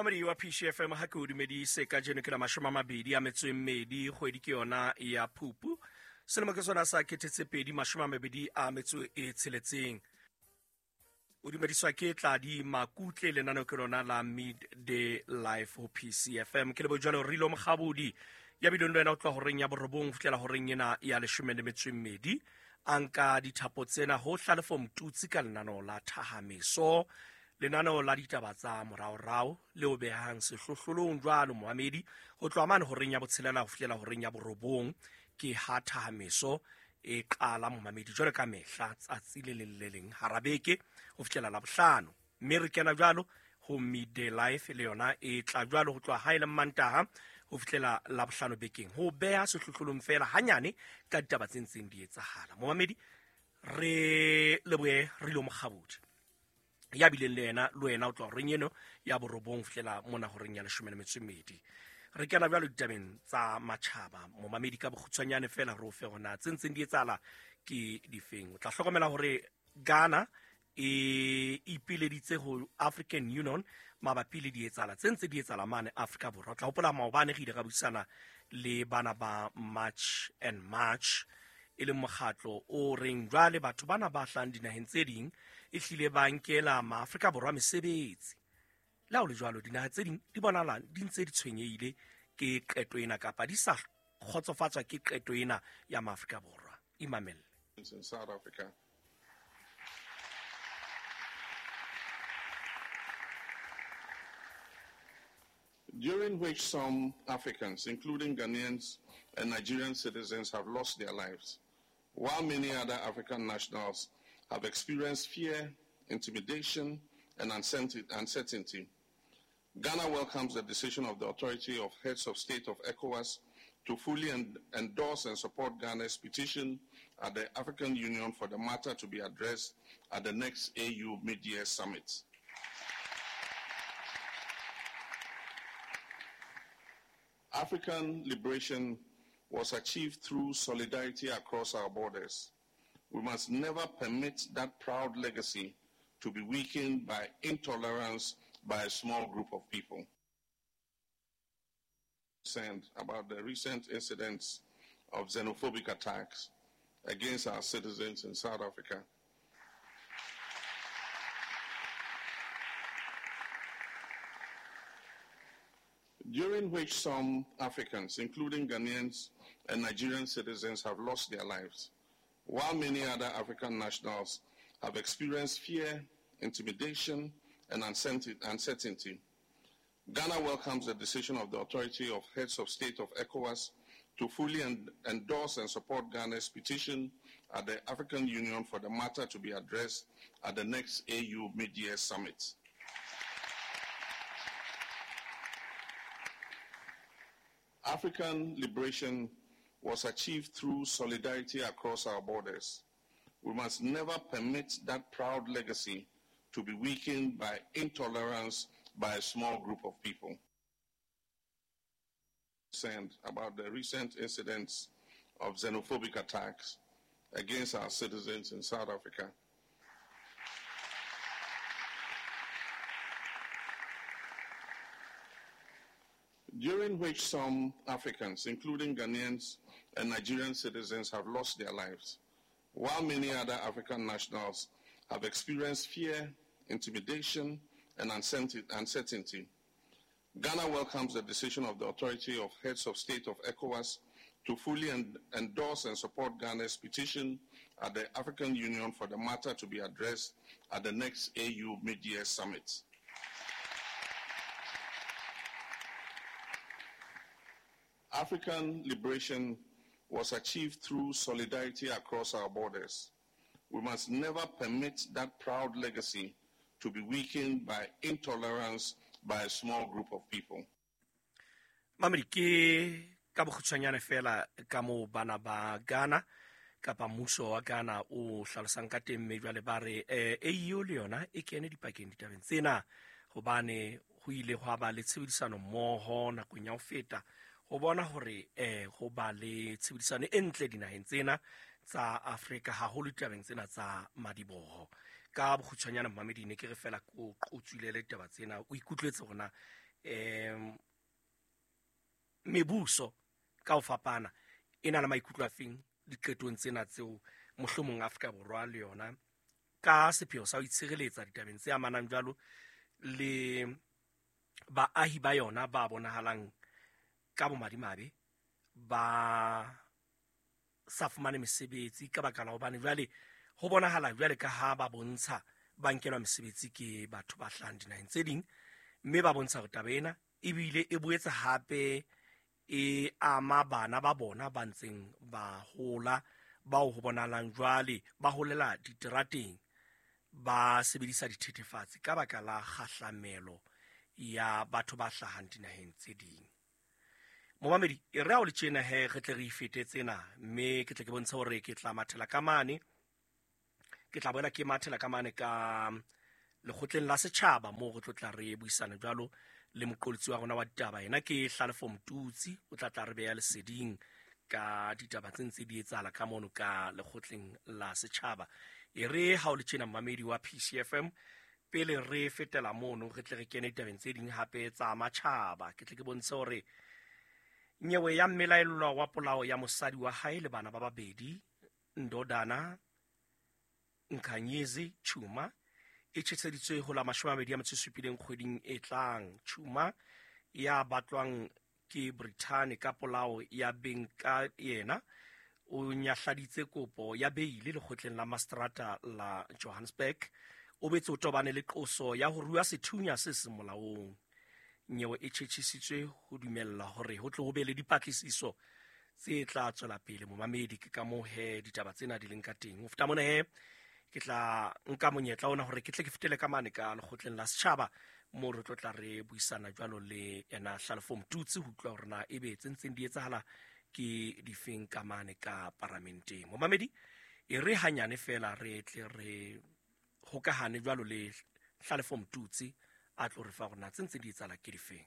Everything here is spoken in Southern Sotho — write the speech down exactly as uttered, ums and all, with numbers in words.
Mamedi wa P C F M ha ke o dumedise kajeno ke la mashome a mabedi a metso e mmedi, kgwedi ke yona ya Phupu. Selemo ke sona sa kete tse pedi mashome a mabedi a metso e tsheletseng. O dumediswa ke Tladi Makutle, lenaneo ke lona la Midday Life ho P C F M. Ke lebo jwalo Rilo Mokgabodi ya bileng le wena o tloha horeng ya borobong ho fihlela horeng ena ya leshome le metso e mmedi. A nka dithapo tsena ho Hlalefo Mtutsi ka lenaneo la Thahameso, lenaneo la ditaba tsa moraorao le o behang sehlohlolong jwalo moamedi ho tloha mane horeng ya botshelela ho fihlela horeng ya borobong. Ke ha Thahameso e qala momamedi jwalo ka mehla tsatsi le leng le leng hara beke ho fihlela la bohlano, mme re kena jwalo ho Midday Life le yona e tla jwalo ho tloha ha e le Mantaha ho fihlela la bohlano bekeng, ho beha sehlohlolong fela hanyane ka ditaba tse ntseng di etsahala. Momamedi re lebohe Rilo Mokgabodi ya bileng le yena le wena o tloha horeng eno ya borobong ho fihlela mona horeng ya leshome le metso e mmedi. Re kena jwalo ditabeng tsa matjhaba momamedi ka bokgutshwanyane fela re o fe hona tse ntseng di etsahala ke difeng. O tla hlokomela hore Ghana e ipileditse ho African Union mabapi le dietsahala tse ntse di etsahala mane Afrika Borwa. O tla hopola maobane re ile ra buisana le bana ba March and March, e leng mokgatlo o reng jwale batho bana ba hlahang dinaheng tse ding e hlile ba nkela maAfrika Borwa mesebetsi. Le ha ho le jwalo, dinaha tse ding di bonahala di ntse di tshwenyehile ke qeto ena kapa di sa kgotsofatswa ke qeto ena ya maAfrika Borwa. Imamelle. In South Africa. During which some Africans, including Ghanaians and Nigerian citizens, have lost their lives, while many other African nationals have experienced fear, intimidation, and uncertainty. Ghana welcomes the decision of the Authority of Heads of State of ECOWAS to fully en- endorse and support Ghana's petition at the African Union for the matter to be addressed at the next A U Mid-Year Summit. African liberation was achieved through solidarity across our borders. We must never permit that proud legacy to be weakened by intolerance by a small group of people. Send about the recent incidents of xenophobic attacks against our citizens in South Africa. During which some Africans, including Ghanaians and Nigerian citizens, have lost their lives, while many other African nationals have experienced fear, intimidation, and uncertainty. Ghana welcomes the decision of the Authority of Heads of State of ECOWAS to fully en- endorse and support Ghana's petition at the African Union for the matter to be addressed at the next A U Mid-Year Summit. African liberation was achieved through solidarity across our borders. We must never permit that proud legacy to be weakened by intolerance by a small group of people. Send about the recent incidents of xenophobic attacks against our citizens in South Africa. During which some Africans, including Ghanaians and Nigerian citizens, have lost their lives, while many other African nationals have experienced fear, intimidation, and uncertainty. Ghana welcomes the decision of the Authority of Heads of State of ECOWAS to fully en- endorse and support Ghana's petition at the African Union for the matter to be addressed at the next A U Mid-Year Summit. African liberation was achieved through solidarity across our borders. We must never permit that proud legacy to be weakened by intolerance by a small group of people. Mamedi, ke ka bokgutshwanyane fela ka moo bana ba Ghana kapa mmuso wa Ghana o hlalosang ka teng, mme jwale ba re eh, A U le yona e kene dipakeng ditabeng tsena hobane ho ile hwa ba le tshebedisano mmoho nakong ya ho feta ho bona hore eh ho ba le tshebedisano e ntle dinaheng tsena tsa Afrika, haholo ditabeng tsena tsa madiboho. Ka bokgutshwanyane mamedi, ne ke re fela ko qotswile le ditaba tsena, o ikutlwetse hore na um mebuso ka ho fapana e na le maikutlo a feng diqetong tsena tseo mohlomong Afrika Borwa le yona ka sepheo sa ho itshireletsa ditabeng tse amanang jwalo le baahi ba yona ba bonahalang ka bomadimabe ba sa fumane mesebetsi ka baka la hobane jwale ho bonahala jwale ka ha ba bontsha ba nkelwa mesebetsi ke batho ba hlahang dinaheng tse ding, mme ba bontsha hore taba ena ebile e boetse hape e ama bana ba bona ba ntseng ba hola, bao ho bonahalang jwale ba holela diterateng ba sebedisa dithethefatsi ka baka la kgahlamelo ya batho ba hlahang dinaheng tse ding. Momamedi, e re ha o le tjena he re tle re ifete tsena, mme ke tle ke bontshe hore ke tla mathela ka mane, ke tla boela ke mathela ka mane ka lekgotleng la setjhaba moo re tlo tla re buisana jwalo le moqolotsi wa rona wa ditaba. Yena ke Hlalefo Motutsi, o tla tla re beha leseding ka ditaba tse ntse di etsahala ka mono ka lekgotleng la setjhaba. E re ha o le tjena mmamedi wa P C F M, pele re fetela mono re tle re kene ditabeng tse ding hape tsa matjhaba, ke tle ke bontshe hore nyewe ya mmelaellwa wa polao ya mosadi wa hae le bana ba babedi Ndodana Nkanyezi Chuma e tjheseditswe ho la mashome a mabedi a metso e supileng kgweding e tlang. Chuma ya batlwang ke Britain ka polao ya beng ka yena o nyahladitse kopo ya beile lekgotleng la mastrata la Johannesburg. O betse o tobane le qoso ya ho rua sethunya se seng molaong. Nyewe e tjhetjhisitswe ho dumella hore ho tle ho be le dipatlisiso tse tla tswela pele. Momamedi, ke ka moo he ditaba tsena di leng ka teng. Ho feta mona he ke tla nka monyetla ona hore ke tle ke fetele ka mane ka lekgotleng la setjhaba moo re tlo tla re buisana jwalo le yena Hlalefo Motutsi ho utlwa hore na ebe tse ntseng di etsahala ke difeng ka mane ka paramenteng. Momamedi, e re hanyane fela re tle re hokahane jwalo le Hlalefo Motutsi a tlo re fa hore na tse ntseng di etsahala ke difeng.